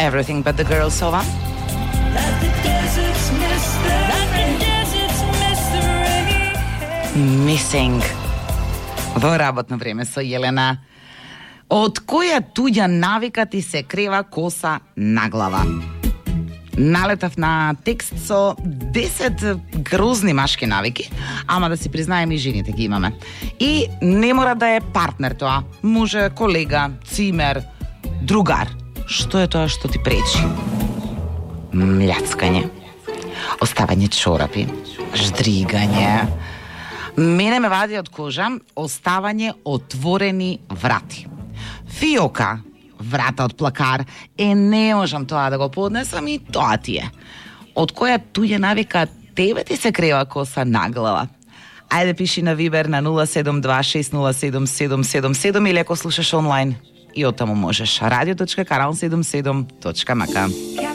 Everything But The Girl Sova. Missing. Во работно време со Јелена. Од која туѓа навика ти се крева коса на глава? Налетав на текст со 10 грозни машки навики, ама да си признаем и жените ги имаме. И не мора да е партнер тоа, може колега, цимер, другар. Што е тоа што ти пречи? Мљацкање, оставање чорапи, ждригање. Мене ме вади од кожа оставање отворени врати. Фиока, врата од плакар, не можам тоа да го поднесам и тоа ти е. Од која туѓа навика тебе ти се крева коса на глава? Ајде пиши на Вибер на 072607777 или ако слушаш онлайн и оттаму можеш radio.kanal77.mk.